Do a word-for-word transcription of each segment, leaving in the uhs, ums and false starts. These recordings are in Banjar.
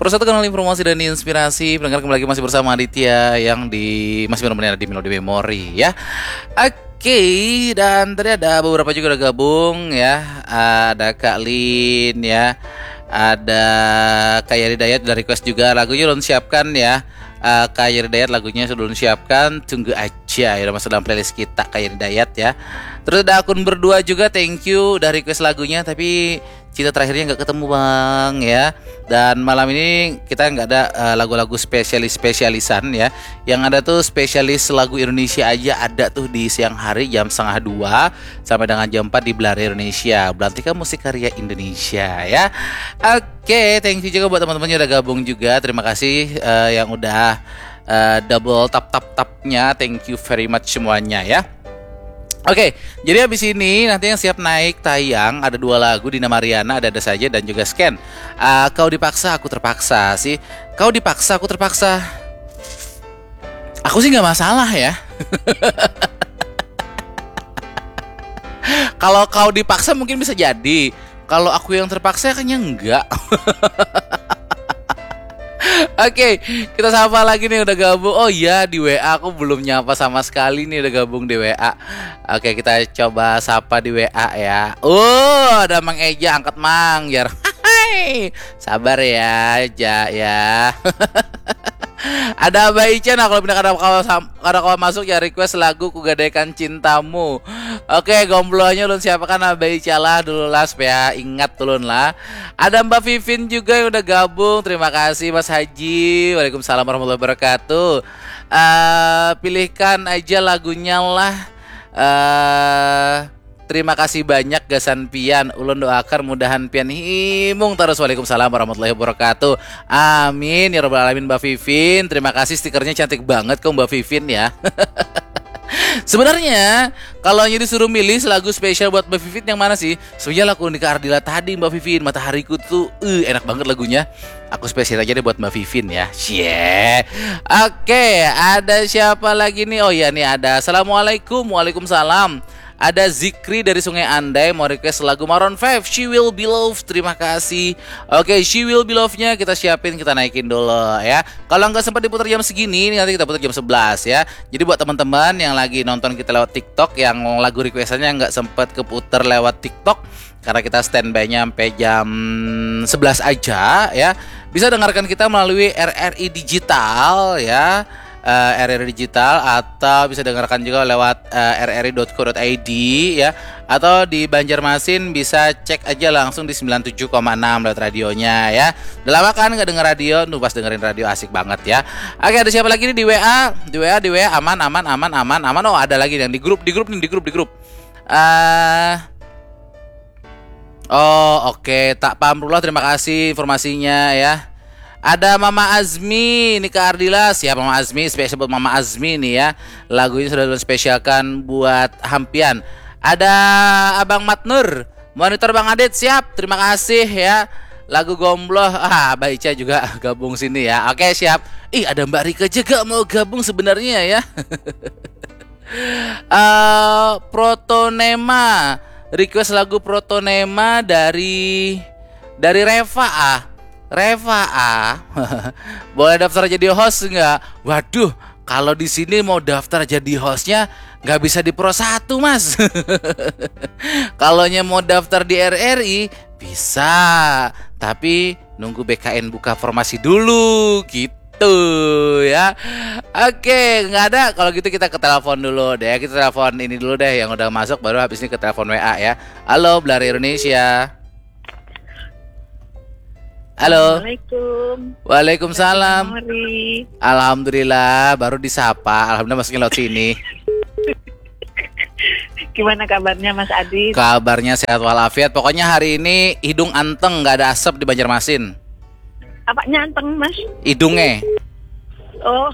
Persatu kanal informasi dan inspirasi. Pendengar, kembali lagi masih bersama Aditya yang di masih menemani Anda di Melody Memory ya. Oke, dan tadi ada beberapa juga udah gabung ya. Ada Kak Lin ya. Ada Kak Yari Dayat udah request juga lagunya, ulun siapkan ya. Eh, Kak Yari Dayat lagunya sudah ulun siapkan, tunggu aja ya, udah masuk dalam playlist kita Kak Yari Dayat ya. Terus ada akun berdua juga, thank you udah request lagunya, tapi cinta terakhirnya nggak ketemu bang ya. Dan malam ini kita nggak ada eh, lagu-lagu spesialis-spesialisan ya. Yang ada tuh spesialis lagu Indonesia aja ada tuh di siang hari jam setengah dua sampai dengan jam empat di Belari Indonesia. Belantika Musik Karya Indonesia ya. Oke, thank you juga buat teman-teman yang udah gabung juga. Terima kasih eh, yang udah eh, double tap tap tapnya. Thank you very much semuanya ya. Oke, jadi habis ini nanti yang siap naik tayang ada dua lagu, Dina Mariana, Ada-Ada Saja, dan juga Scan. Ah, Kau Dipaksa, Aku Terpaksa sih. Kau dipaksa, aku terpaksa. Aku sih nggak masalah ya. Kalau kau dipaksa mungkin bisa jadi. Kalau aku yang terpaksa, kayaknya enggak. Oke, kita sapa lagi nih udah gabung. Oh iya, di W A aku belum nyapa sama sekali nih udah gabung di W A. Oke, kita coba sapa di W A ya. Oh, ada Mang Eja, angkat Mang, jar. Hai, sabar ya, Ja ya. Ada Abah Ica, nah kalau pindah kada kawa sam- kada kawa masuk ya, request lagu Kugadaikan Cintamu. Oke, gomblonya ulun siapakan Abah Ica lah dulu lah supaya ingat ulun lah. Ada Mbak Vivin juga yang udah gabung. Terima kasih Mas Haji. Waalaikumsalam warahmatullahi wabarakatuh. Eh, pilihkan aja lagunya lah. Eh, terima kasih banyak gasan pian. Ulun doakan mudahan pian himung terus. Waalaikumsalam warahmatullahi wabarakatuh. Amin ya robbal alamin Mbak Vivin. Terima kasih, stikernya cantik banget kok Mbak Vivin ya. Sebenarnya kalau hanya disuruh milih lagu spesial buat Mbak Vivin yang mana sih? Sebenarnya lagu Nika Ardila tadi Mbak Vivin, Matahariku tuh eh, enak banget lagunya. Aku spesial aja deh buat Mbak Vivin ya. Cie. Oke, ada siapa lagi nih? Oh ya nih ada. Assalamualaikum. Waalaikumsalam. Ada Zikri dari Sungai Andai mau request lagu Maroon five, She Will Be Loved. Terima kasih. Oke, She Will Be Loved-nya kita siapin, kita naikin dulu ya. Kalau nggak sempat diputar jam segini, ini nanti kita putar jam sebelas ya. Jadi buat teman-teman yang lagi nonton kita lewat TikTok, yang lagu requestannya nggak sempat keputar lewat TikTok karena kita standby-nya sampai jam sebelas aja ya, bisa dengarkan kita melalui R R I Digital ya. Eh, R R I Digital atau bisa dengarkan juga lewat eh, R R I dot co dot I D ya, atau di Banjarmasin bisa cek aja langsung di sembilan tujuh koma enam lewat radionya ya. Udah lama kan nggak denger radio, tuh pas dengerin radio asik banget ya. Oke, ada siapa lagi nih di W A? Di W A, di W A aman, aman, aman, aman, aman. Oh, ada lagi yang di grup, di grup nih, di grup, di grup. Eh, oh, oke, tak paham Rullah, terima kasih informasinya ya. Ada Mama Azmi, ini Kak Ardila. Siap Mama Azmi, spesial buat Mama Azmi nih ya. Lagunya sudah spesialkan buat Hampian. Ada Abang Matnur, monitor Bang Adit, siap. Terima kasih ya. Lagu Gombloh. Ah, Abah Ica juga gabung sini ya. Oke, siap. Ih, ada Mbak Rika juga mau gabung sebenarnya ya. Eh, Protonema, request lagu Protonema dari dari Reva ah. Reva ah. Boleh daftar jadi host nggak? Waduh, kalau di sini mau daftar jadi hostnya nggak bisa di Pro satu, Mas. Kalau nya mau daftar di R R I bisa, tapi nunggu B K N buka formasi dulu gitu ya. Oke, nggak ada. Kalau gitu kita ke telepon dulu deh. Kita telepon ini dulu deh yang udah masuk, baru habis ini ke telepon W A ya. Halo, Belari Indonesia. Halo. Assalamualaikum. Waalaikumsalam. Mori. Alhamdulillah, baru disapa. Alhamdulillah masuknya lewat sini. Gimana kabarnya Mas Adit? Kabarnya sehat walafiat. Pokoknya hari ini hidung anteng, nggak ada asap di Banjarmasin. Apanya anteng, Mas? Hidungnya. Oh,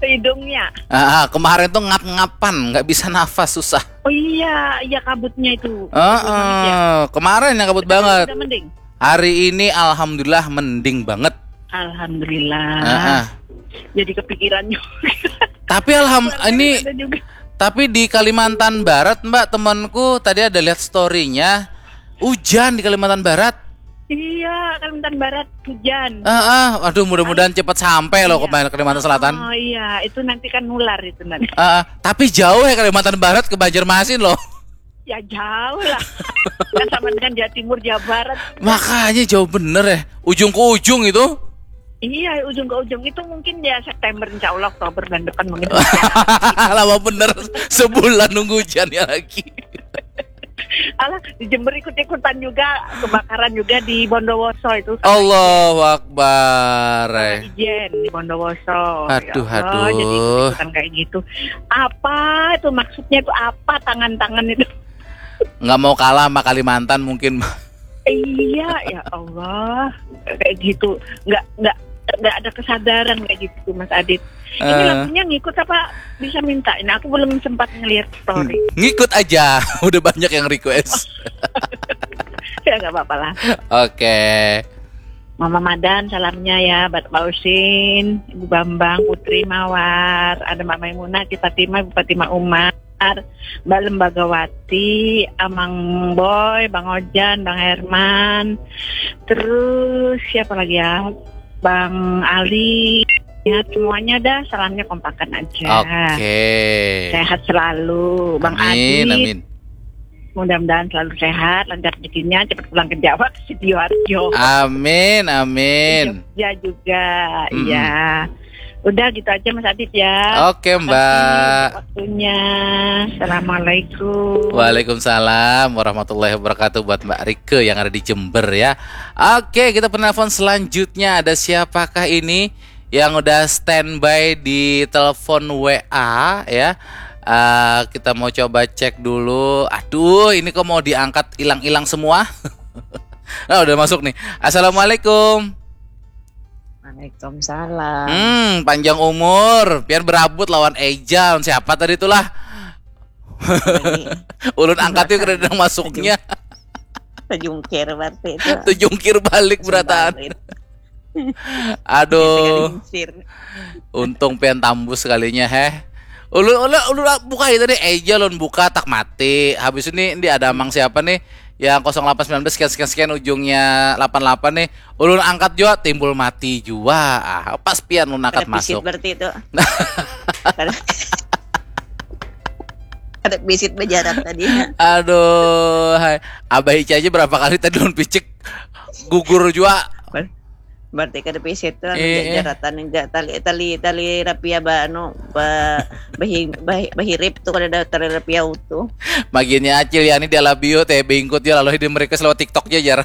hidungnya. Ah, ah, kemarin tuh ngap-ngapan, nggak bisa nafas, susah. Oh iya, iya, kabutnya itu. Heeh, kemarin yang kabut banget. Udah mending. Hari ini alhamdulillah mending banget. Alhamdulillah. Heeh. Jadi kepikiran juga. Tapi alham ini Ada juga. Tapi di Kalimantan Barat, Mbak, temanku tadi ada lihat story-nya, hujan di Kalimantan Barat. Iya, Kalimantan Barat hujan. Ah, ah, aduh, mudah-mudahan cepat sampai loh ke Kalimantan Selatan. Oh iya, itu nanti kan nular itu nanti. Ah, ah. Tapi jauh ya Kalimantan Barat ke Banjarmasin loh. Ya jauh lah. Kan sama dengan Jawa Timur, Jawa Barat. Makanya jauh bener ya. Ujung ke ujung itu. Iya, ujung ke ujung itu mungkin ya September, insya Allah Oktober bulan depan mungkin. Lama bener, sebulan nunggu hujannya lagi. Alah, di Jember ikut-ikutan juga, kebakaran juga di Bondowoso itu. Allahu Akbar. Ijen di Bondowoso. Aduh, Ya Allah, aduh. Jadi ikut-ikutan kayak gitu. Apa itu maksudnya itu apa tangan-tangan itu? Nggak mau kalah sama Kalimantan mungkin. Iya, ya Allah, kayak gitu. Nggak nggak nggak ada kesadaran kayak gitu, Mas Adit. Ini Eh. Lagunya ngikut apa bisa minta? Ini aku belum sempat ngeliat story. Ngikut aja, udah banyak yang request. Ya nggak apa-apa lah. Oke. Mama Madan salamnya ya, buat Pak Usin, Ibu Bambang, Putri Mawar, ada Mbak Maimunah, Ci Fatimah, Ibu Fatimah Umar, Mbak Lembagawati, Amang Boy, Bang Ojan, Bang Herman, terus siapa lagi ya, Bang Ali, ya semuanya dah salamnya kompakan aja. Oke. Sehat selalu, Bang Amin, Adit. Amin. Mudah-mudahan selalu sehat, lancar rezekinya, cepat pulang ke Jawa, ke Sidoarjo. Amin, amin. Jogja juga, Mm-mm. iya. Udah gitu aja Mas Adit ya. Oke, Makasih Mbak. Waktunya. Assalamualaikum. Waalaikumsalam warahmatullahi wabarakatuh buat Mbak Rike yang ada di Jember ya. Oke, kita penelpon selanjutnya, ada siapakah ini yang udah standby di telepon W A ya? Eh, kita mau coba cek dulu. Aduh, ini kok mau diangkat hilang-hilang semua? Nah, udah masuk nih. Assalamualaikum. Waalaikumsalam. Hmm, panjang umur. Pian berabut lawan Eja, lawan siapa tadi itulah? Ini Ulun angkat yuk, kada ada masuknya. Tejungkir berarti itu. Tejungkir balik berataan. Balik. Aduh, Tejungkir. Untung pian tambus sekalinya heh. Ulun, ulun, ulun buka itu nih, Eja ulun buka tak mati. Habis ini, ini ada amang siapa nih? Yang kosong delapan sembilan belas sekian sekian sekian ujungnya delapan delapan nih. Ulun angkat jua, timbul mati jua. Ah, pas pian ulun angkat Kada pisit masuk. Berarti itu. Kada, kada pisit bejarat tadi. Aduh, hai. Abah Ica aja berapa kali tadi ulun picik, gugur jua. Ber- Berarti kada pisit tuh Eh, eh. Jaratan enggak tali tali tali rapia ba anu ba bahi, bahi, bahirip tuh kada ada tali rapia utuh. Magiannya acil ya ini dia labio teh bingkut ya lalu di mereka lewat TikTok aja jar.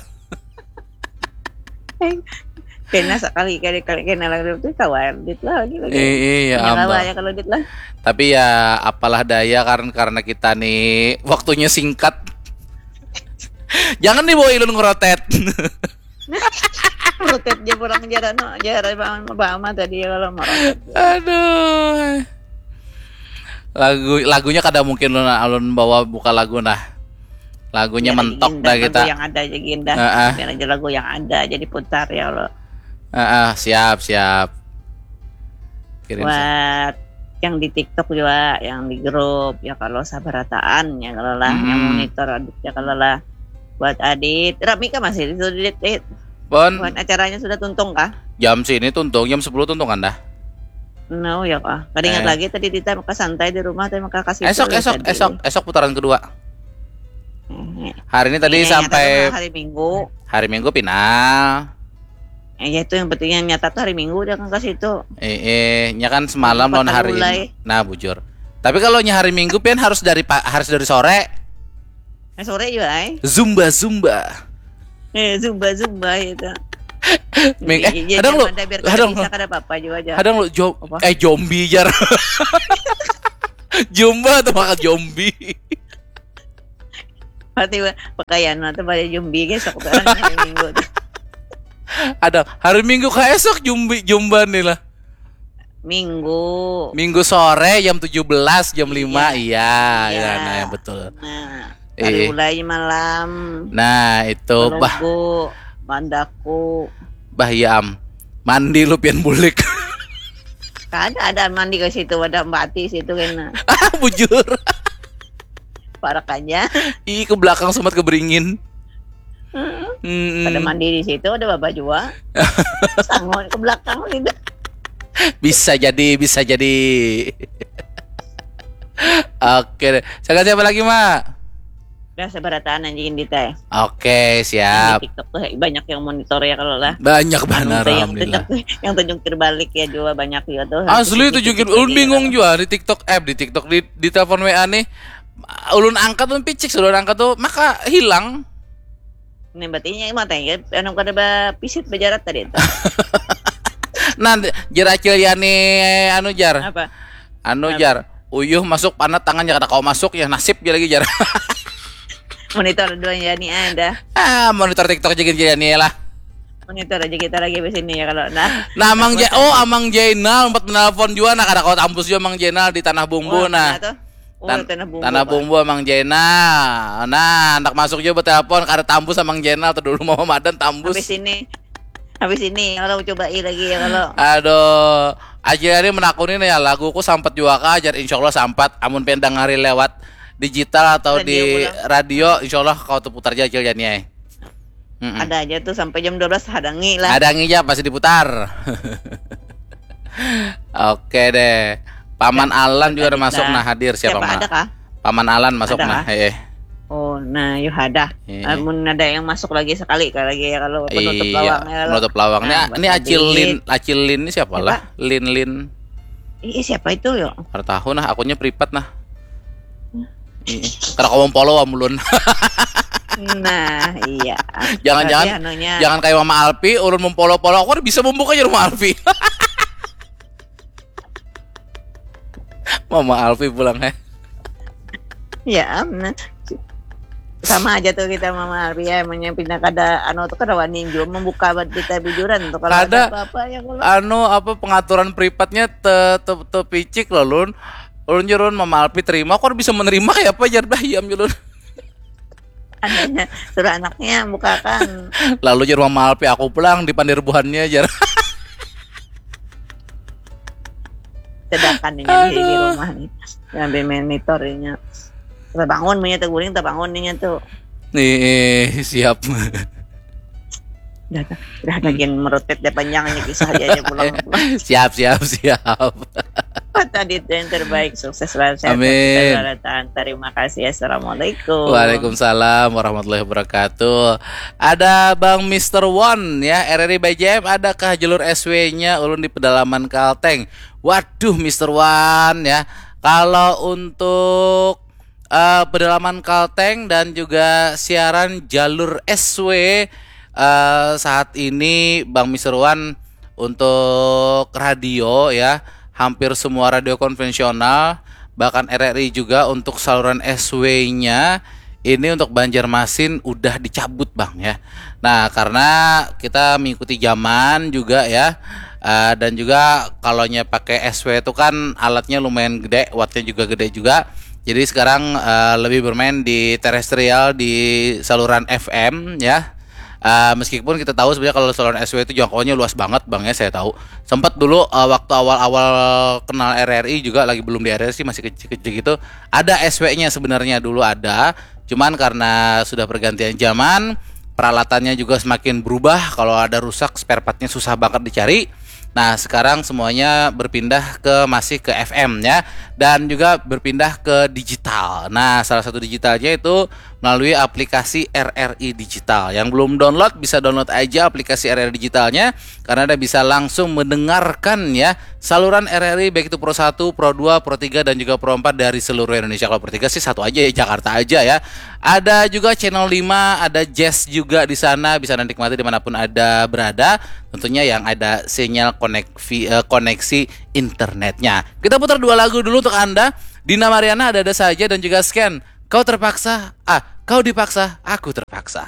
Kena sekali kali kali kena lagi tuh kawan dit lah lagi lagi. Eh, iya, Punya kawan ambal. Ya kalau dit lah. Tapi ya apalah daya karena karena kita nih waktunya singkat. Jangan dibawa ilun ngerotet. Rotet dia pulang jalan no jalan bang bang tadi ya kalau mau rotet. Aduh. Lagu lagunya kada mungkin ulun ulun bawa buka lagu nah. Lagunya Biar mentok aja dah lagu kita. Yang ada aja Ginda. Heeh. Biar aja lagu yang ada aja diputar ya Allah. Heeh, siap siap. Kirim siap. Buat yang di TikTok juga, yang di grup ya kalau sabarataan ya kalau lah, yang Hmm. Monitor Adit ya kalau lah. Buat Adit, rami kah masih itu Dit? Dit? Pon, Buat acaranya sudah tuntung kah? Jam sini tuntung, jam sepuluh tuntungan dah. No ya kah. Kada ingat Eh. Lagi tadi Dita maka santai di rumah tadi maka kasih Esok dulu esok tadi. Esok esok putaran kedua. Eh, Hari ini tadi ini sampai hari Minggu. Hari Minggu final. Eh, ya itu yang pentingnya nyata tuh hari Minggu dia kan ke situ. Eh, eh, nya kan semalam lawan Patah hari gulai. Nah, bujur. Tapi kalau nya hari Minggu pian harus dari pa- harus dari sore. Eh, sore juga ay. Zumba zumba. Eh, zumba zumba itu. Ming, eh, Iya, kadang lu, ada biar kada kadang bisa lu, kada apa-apa juga aja. kadang lu jo, Apa? Eh zombie jar. Zumba tuh makan zombie. Berarti pakaian atau pada zombie guys aku kan hari Minggu tuh. Ada hari Minggu kayak esok zumbi zumba nih lah. Minggu. Minggu sore jam tujuh belas jam lima iya, Iya. Ya, nah yang betul. Nah, Iya. Hari Ulai malam. Nah, itu bah Logo, Mandaku. Bah ya am. Mandi lu pian bulik. Kada ada mandi ke situ, ada mati situ kena. Bujur. Parak aja. Ih, ke belakang semat ke beringin. Heeh. Mm-mm. Pada mandi di situ, ada baba jua. Sangun ke belakang gitu. Bisa jadi, bisa jadi. Oke deh. Siapa siapa lagi, Mak? Udah sabarataan anjing Indita ya. Oke, Di siap. TikTok tuh banyak yang monitor ya kalau lah. Banyak banget, Anu, yang alhamdulillah. TikTok tuh, yang terjungkir balik ya juga banyak juga tuh. Asli Di itu jungkir, TikTok ulun ya bingung kalau. Juga di TikTok app, di TikTok di, di telepon W A nih. Ulun angkat, ulun picik sudah angkat tuh, maka hilang. Nih berarti nya mata ya, anu kada ba pisit bajarat tadi itu. Nah, jar Acil Yani, anu jar. Apa? Anu Apa? Jar. Uyuh masuk panat tangannya kada kau masuk ya, nasib dia lagi jar. Monitor dua ya nih ada. Ah, monitor TikTok aja gini Yani lah. Monitor aja kita lagi di sini ya kalau nah. Nah, Amang Ja, oh Amang Jainal empat menelpon juga, nah kada kau tampus juga Amang Jainal di Tanah Bumbu. Wah, Nah, mana tuh? Oh, Tan- Tanah Bumbu. Tanah Pak. Bumbu Amang Jainal. Nah, anak masuk juga betelepon, kada tampus Amang Jainal tuh dulu, Mama Madan tampus. Habis ini. Habis ini kalau coba i lagi ya kalau. Aduh, Acil Yani menakuni nih ya, laguku sampat juga kah? Jar, insya Allah sampat. Amun pengen dengari lewat digital atau Radio di pulang. Radio, insya Allah kau terputar aja Acil Yani, eh. Mm-mm. Ada aja tuh sampai jam dua belas hadangi lah. Ada ngi aja pasti diputar. Oke deh. Paman Alan juga ada Tadi masuk dah. Nah, hadir siapa, Siapa Mak? Ada kah? Paman Alan masuk Ada Nah, kah? Heeh. Oh, nah, yo ada. Heeh. Amun ada yang masuk lagi sekali kali lagi ya kalau penutup Iya, lawang ya kalau. penutup lawang. Ini, Nah, ini buat Acil lagi. Lin, Acil Lin ini siapa Siapa? Lah? Lin Lin. Ih, siapa itu yo? Kada tahu nah, akunnya privat nah. Ih, kada kau follow am ulun. Nah, iya. Jangan-jangan Berarti anunya jangan kayak Mama Alpi, ulun memfollow-follow, aku kada bisa membuka ya Mama Alpi. Mama Alpi pulang eh. Ya, am, nah. Sama aja tuh kita Mama Arya, emangnya pindah kada anu tuh kada wani jua membuka buat kita bijuran tuh kalau Kada. Ada apa-apa ya kalau. Anu apa pengaturan privatnya te, te, tepicik loh lun. Ulun jurun Mama Alpi terima, aku kada bisa menerima kayak apa jar dah iam jurun. Adanya suruh anaknya bukakan. Lalu jar Mama Alpi aku pulang di pandir buhannya jar. Sedangkan ini di, di Aduh. Rumah nih, ngambil monitornya. Terbangun punya terguring terbangun nih tuh. Nih siap. Udah, udah makin merutet deh panjang ini kisah aja aja pulang. Siap siap siap. Tadi itu yang terbaik, sukses selalu sehat. Amin. Terima kasih. Assalamualaikum. Waalaikumsalam warahmatullahi wabarakatuh. Ada Bang Mister One ya, R R I by J M, adakah jalur S W-nya ulun di pedalaman Kalteng? Waduh Mister One ya. Kalau untuk eh, pedalaman Kalteng dan juga siaran jalur S W eh, saat ini Bang Mister One untuk radio ya, hampir semua radio konvensional, bahkan R R I juga untuk saluran S W-nya ini untuk Banjarmasin udah dicabut Bang ya. Nah, karena kita mengikuti zaman juga ya. Eh, dan juga kalau nya pakai S W itu kan alatnya lumayan gede, wattnya juga gede juga. Jadi sekarang eh, lebih bermain di terestrial, di saluran F M ya. Eh, meskipun kita tahu sebenarnya kalau saluran S W itu jangkauannya luas banget Bang ya, saya tahu. Sempat dulu eh, waktu awal-awal kenal R R I juga lagi belum di R R I sih, masih kecil-kecil gitu. Ada S W-nya sebenarnya dulu ada, cuman karena sudah pergantian zaman, peralatannya juga semakin berubah. Kalau ada rusak, spare part-nya susah banget dicari. Nah, sekarang semuanya berpindah ke masih ke F M ya, dan juga berpindah ke digital. Nah, salah satu digitalnya itu melalui aplikasi R R I Digital. Yang belum download bisa download aja aplikasi R R I Digitalnya karena Anda bisa langsung mendengarkan ya saluran R R I baik itu Pro satu, Pro dua, Pro tiga dan juga Pro empat dari seluruh Indonesia. Kalau Pro tiga sih satu aja ya, Jakarta aja ya. Ada juga Channel lima, ada Jazz juga di sana, bisa Anda nikmati dimanapun Anda berada. Tentunya yang ada sinyal koneksi, eh, koneksi internetnya. Kita putar dua lagu dulu untuk Anda. Dina Mariana ada-ada saja dan juga Scan. Kau terpaksa, ah, kau dipaksa, aku terpaksa.